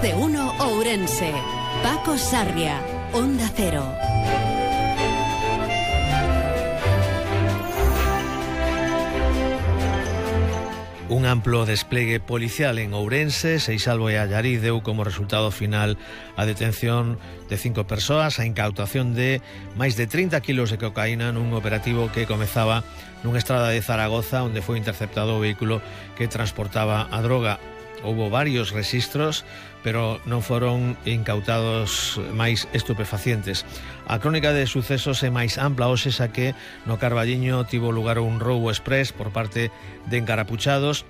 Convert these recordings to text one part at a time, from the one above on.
de Uno Ourense. Paco Sarria, Onda Cero. Un amplo despliegue policial en Ourense, Seixalbo e Allariz deu como resultado final a detención de 5 persoas, a incautación de máis de 30 kilos de cocaína nun operativo que comezaba nunha estrada de Zaragoza, onde foi interceptado o vehículo que transportaba a droga. Houbo varios rexistros, pero non foron incautados máis estupefacientes. A crónica de sucesos é máis ampla hoxe, xa que no Carballiño tivo lugar un roubo express por parte de encarapuchados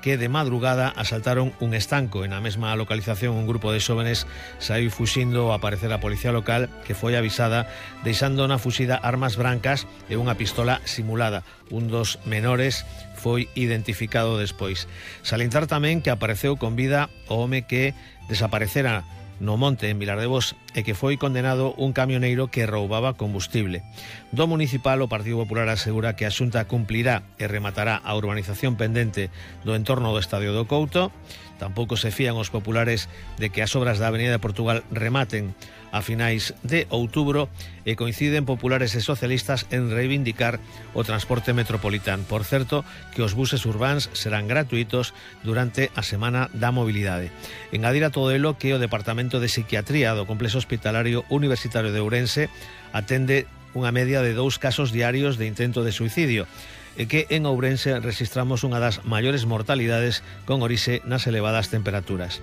que de madrugada asaltaron un estanco. En a mesma localización un grupo de xóvenes saiu fuxindo ao aparecer a policía local, que foi avisada deixando na fuxida armas brancas e unha pistola simulada. Un dos menores foi identificado despois. Salientar tamén que apareceu con vida o home que desaparecera no monte en Vilar de Bos e que foi condenado un camioneiro que roubaba combustible. Do municipal, o Partido Popular asegura que a Xunta cumplirá e rematará a urbanización pendente do entorno do Estadio do Couto. Tampouco se fían os populares de que as obras da Avenida de Portugal rematen a finais de outubro e coinciden populares e socialistas en reivindicar o transporte metropolitano. Por certo, que os buses urbáns serán gratuitos durante a Semana da Mobilidade. Engadir a todo elo que o Departamento de Psiquiatría do Complexo Hospitalario Universitario de Ourense atende unha media de 2 casos diarios de intento de suicidio, e que en Ourense registramos unha das maiores mortalidades con orixe nas elevadas temperaturas.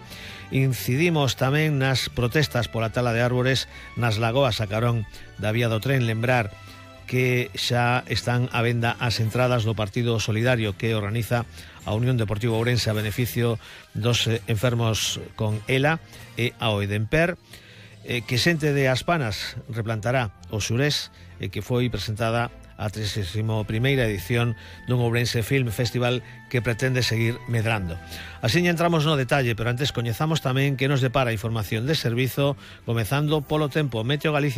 Incidimos tamén nas protestas pola tala de árbores nas lagoas a carón da vía do tren. Lembrar que xa están á venda as entradas do Partido Solidario que organiza a Unión Deportiva Ourense a beneficio dos enfermos con ELA e ao Edemper, que xente de Aspanas replantará o Xurés, que foi presentada a 31ª edición dun Ourense Film Festival que pretende seguir medrando. Así entramos no detalle, pero antes coñezamos tamén que nos depara a información de servizo, comezando polo tempo. Meteo Galicia.